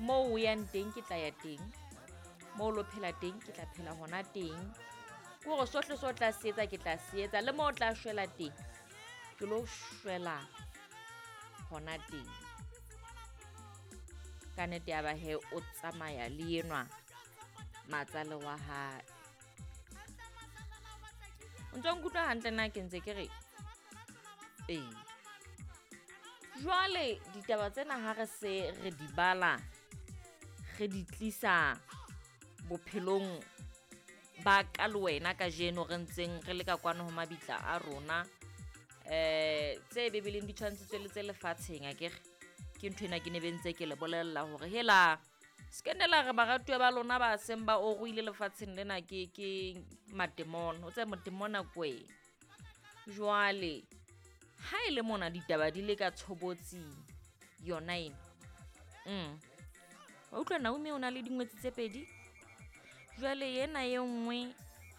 Moo o yang teng ke tla ya teng, moo o lo phela teng ke tla phela hona teng. Ke hore sohle se o tla se etsa ke tla se etsa, le moo o tla shwela teng ke lo shwela hona teng. Ka nnete ya ba he o tsamaya le enwa matsale wa hae. O ntso nkutlwa hantle na ke ntse ke re? Ee. Jwale ditaba tsena ha re se re di bala, re di tlisa bophelong ba ka le wena kajeno re ntseng re le ka kwano ho mabitla a rona. Tse Bibeleng di tshwantshitswe le tse lefatsheng akere. Ke ntho ena ke ne be ntse ke le bolella hore hela se ke nne la re baratuwa ba lona ba seng ba oruile lefatsheng lena ke ke matemona. O tsebe motemona ke wena. Jwale ha e le mona ditaba di le ka tshobotsi yona ena. Wa utlwa Naomi o na le dingwetsi tse pedi. Jwale ena e nngwe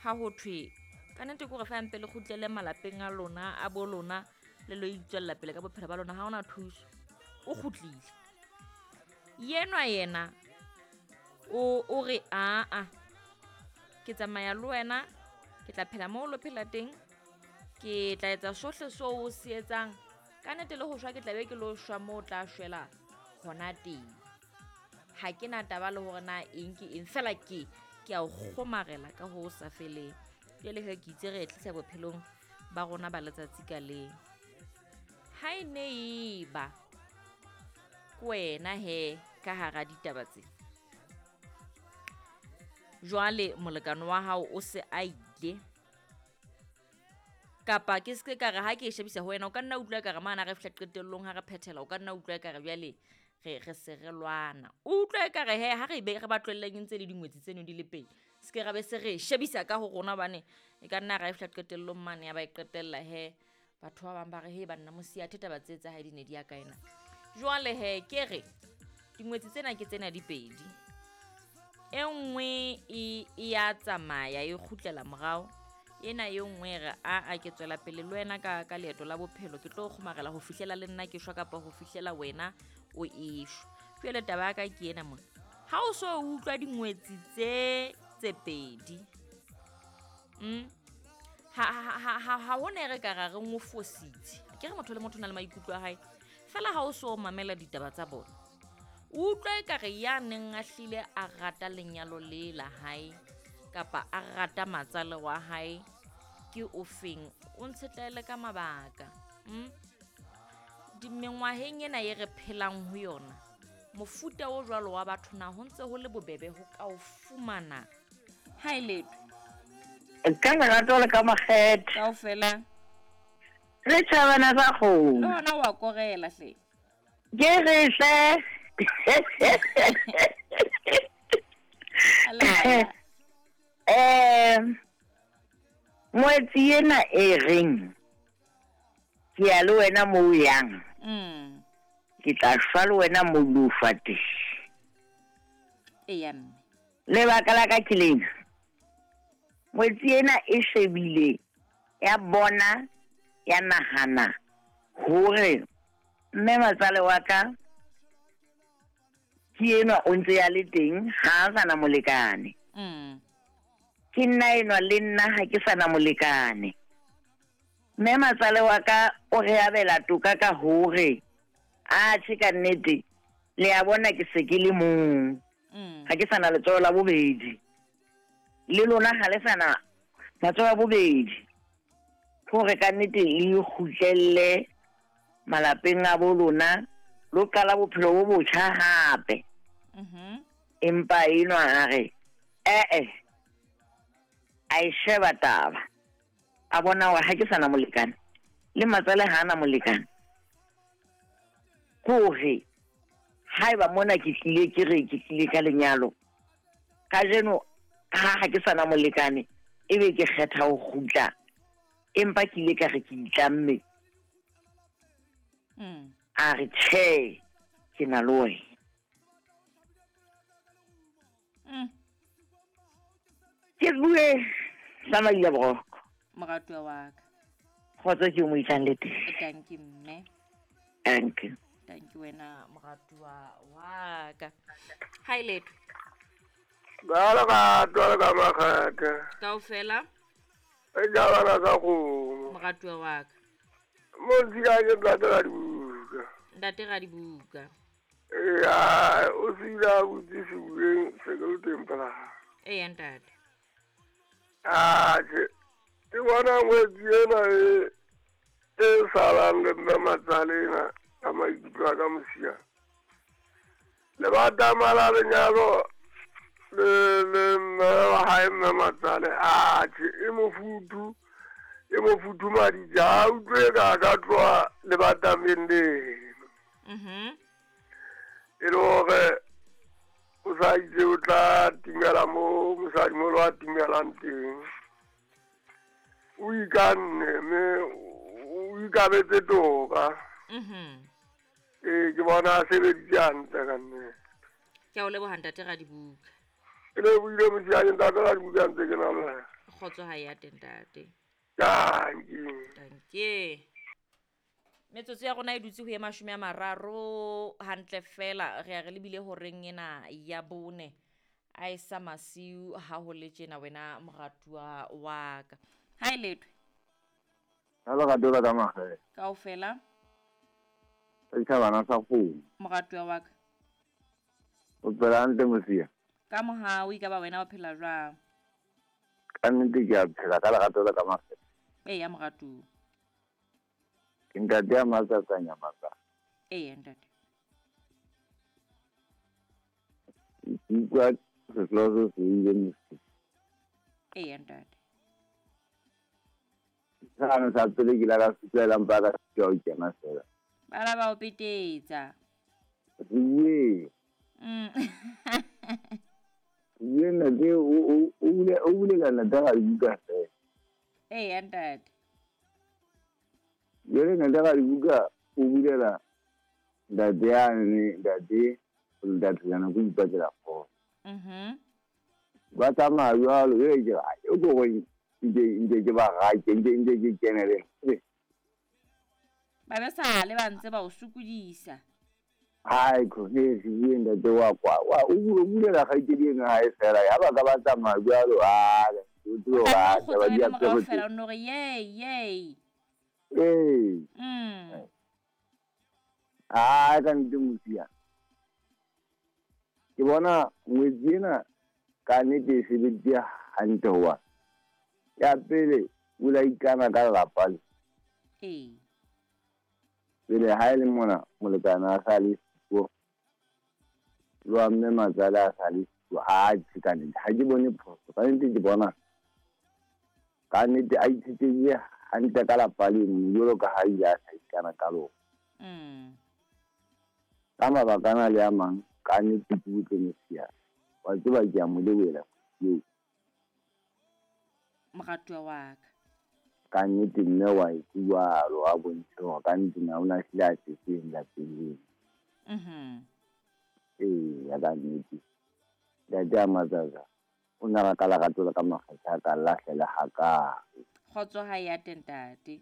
ha ho thwe ka nnete ke hore fa mpe le kgutlele malapeng a lona a bo lona le lo itswella pele ka bophelo ba lona, ha hona thuso. O kgutlile. Yenwa yena o re aa ke tsamaya le wena, ke tla phela moo lo phela teng, ke tla etsa sohle seo o se etsang. Ka nnete le ho shwa ke tla be ke lo shwa moo o tla shwela hona teng. Ha ke na taba le hore na eng ke eng, fela ke ke a o kgomarela ka ho sa feleng. Jwale he ke itse re e tlisa bophelong ba rona ba letsatsi ka leng. Ha e ne e ba ke wena he ka hara ditaba tse. Jwale molekane wa hao o se a ile. Kapa ke se ka re ha ke e shebisa ho wena, o ka nna utlwa ekare mane ha re fihla qetellong ha re phethela, o ka nna utlwa ekare jwale re re se re lwana. O utlwa ekare he ha re be re ba tlohelleng e ntse le dingwetsi tseno di le pedi. Se ke ra be se re shebisa ka ho rona hobane e ka nna ra e fihla qetellong mane ya ba e qetella he batho ba bang ba re he banna mosiya athe taba tse tsa hae di ne di ya kae na. Jwale he ke re dingwetsi tsena ke tsena di pedi. E nngwe e ya tsamaya e kgutlela morao. Ena e nngwe e re a a ke tswela pele le wena ka ka leeto la bophelo, ke tlo kgomarela ho fihlela le nna ke shwa kapa ho fihlela wena o eshwa. Jwale taba ya ka ke ena mona. Ha o so utlwa dingwetsi tse tse pedi. Ha ho ne re ka ra re ngo fositse. Ke re motho le motho o na le maikutlo a hae. Fela ha o so mamela ditaba tsa bona. O utlwa ekare ya neng a hlile a rata lenyalo le la hae kapa a rata matsale wa hae ke ofeng, o ntshetlaele ka mabaka. Mengwaheng ena e re phelang ho yona, mofuta o jwalo wa batho na ho ntse ho le bobebe ho ka o fumana? Ha e letho. Ka lerato le ka makgethe. Kaofela. Re tjhabana sa kgomo. Le hona wa korela hle. Ke re hle. Ngwetsi ena e reng ke ya le wena moo o yang. Ke tla shwa le wena moo o lo shwa teng. Eya mme. Lebaka la ka ke lena. Ngwetsi ena e shebile ya bona ya nahana hore mme matsale wa ka ke enwa o ntse ya le teng, ha a sa na molekane. Ke nna enwa le nna ha ke sa na molekane. Mme matsale wa ka o re abela toka ka hore a tjhe ka nnete le a bona ke se ke le mong. Ha ke sa na letsoho la bobedi. Le lona ha le sa na matsoho a bobedi. Hore ka nnete le kgutlelle malapeng a bo lona, lo qala bophelo bo botjha hape. Empa enwa a re a e sheba taba. A bona hore ha ke sa na molekane, le matsale ha a na molekane. Hore haeba mona ke tlile ke re ke tlile ka lenyalo, kajeno ha ke sa na molekane, ebe ke kgetha ho kgutla, empa ke ile ka re ke itlamme. A re tjhe, ke na le wena. Ke bue sa Maila Boroko. Moratuwa wa ka. Kgotso ke o mo isang le teng. Thank you mme. Thank you. Thank you wena moratuwa wa ka. Hi Letho. Ba le ka le ka makgethe. Kaofela. E ja bana sa kgomo. Moratuwa wa ka. Mo ntsika ke ntate ra dibuka. Ntate ra dibuka. Ya, o sila butse sebukeng se ke le teng pela. Eya ntate. Atjhe, ke bona ngwetsi ena e salang le mme matsale ena ka maikutlo a ka mosia. Le batama la lenyalo le mme wa hae mme matsale. Atjhe, e mofuthu madija a utlwe ka ka tloha le batameng leno. E le hore o sa itse o tla timela mo mosadimoholo a timelang teng. O ikanne mme o ikabetse toka. Ee, ke bona a sebeditse hantle ka nnete. Ke a o leboha ntate Radibuka. Ke lebohile mosiane ntate Radibuka ntse ke na le wena. Kgotso ha ya teng ntate. Dankie. Dankie. Metsotso ya rona e dutse ho ye 30 hantle fela re ya re lebile horeng ena ya 4 a e sa masiu ha ho le tjena wena moratuwa wa ka. Ha e Letho. Hello ka dola ka mahe. Kaofela. Ke bana sa kgomo. Moratuwa wa ka. O phela hantle mosia. Ka mohau e ka ba wena o phela jwang? Ka nnete ke a phela ka lerato la ka mahe. Eya moratuwa. Ke ntate ya matsatsa nyamatsa. Eya ntate. Ke utlwa sehlooho se ile mosia. Eya ntate. Sano sa pele ke la ka fihlela mpa ka sitwa ho kena fela. Bana ba o petetsa. Ye. Ye ntate o bulela ntate ga dibuka fela. Eya ntate. Jwale ntate ga dibuka o bulela ntate yane ntate ntate yana go ipatlela kgotso. Ba tsamaya jwalo jwale ke re o ko go nke ke ba gake nke ke kenele. Ba be sale ba ntse ba o sokodisa. Hai ko he se ntate wa kwa wa o bulela kgaitsedi eno ha e fela ya ba ka ba tsamaya jwalo a o tlo ba ba di a fela o no re yey yey. Ee. A ka nnete mosia. Ke bona ngwetsi ena ka nnete e sebeditse hantle hoba ya pele o la ikana ka lelapa le. Ee. Pele ha e le mona molekane a sa le siko le wa mme matsale a sa le siko a tjhe ka nnete ha ke bone phoso ka nnete ke bona ka nnete a itshetlehile hantle ka lapa leno jwalo ka ha ile a sa ikana ka lona. Ka mabaka ana le a mang ka nnete ke utlwe mosia wa tseba ke a mo lebohela eo. Moratuwa wa ka. Ka nnete mme wa e jwalo a bontshe hore ka nnete na o na hlile a tletseng lapeng leno. Ee, ya ka nnete. Ntate a matsatsa o na ka lerato la ka makgethe a ka lahlela hakae. Kgotso ha ya teng ntate.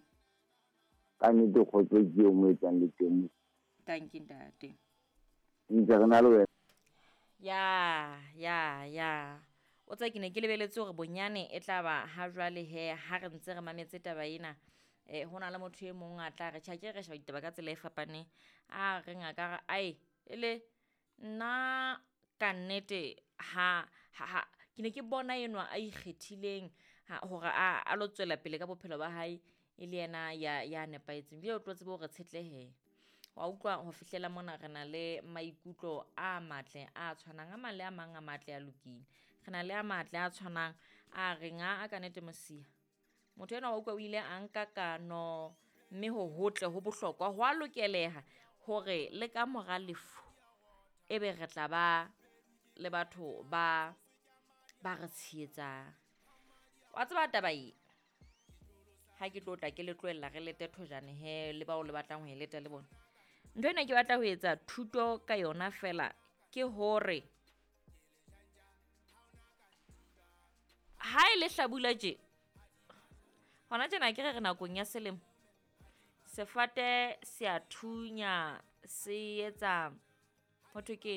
Ka nnete kgotso ke eo mo etsang le teng. Thank you ntate. Ntse re na le wena. Ya. O tsa ke ne ke lebeletse hore bonyane e tla ba ha jwale he ha re ntse re mametse taba ena. Ho na le motho e mong a tla re tjha ke re sheba ditaba ka tsela e fapaneng. A re ngaka re ai ele nna ka nnete ha ke ne ke bona enwa a ikgethileng hore a lo tswela pele ka bophelo ba hae e le yena ya nepahetseng. Jwale o tlo tsebe hore tshetlehe. Wa utlwa ho fihlela mona re na le maikutlo a matle a tshwanang a mang le a mang a matle a lokile. Re na le a matle a tshwanang a reng a ka nnete mosia. Motho enwa wa utlwa o ile a nka kano mme ho hotle ho bohlokwa ho a lokeleha hore le ka mora lefu ebe re tla ba le batho ba re tshehetsang. Wa tseba taba e ha ke tlo tla ke le tlohella re lete thojane he le bao le batlang ho e leta le bona. Ntho ena ke batla ho etsa thuto ka yona fela ke hore ha e le hlabula tje hona tjena ke re re nakong ya selemo sefate se a thunya Se etsa ho thwe ke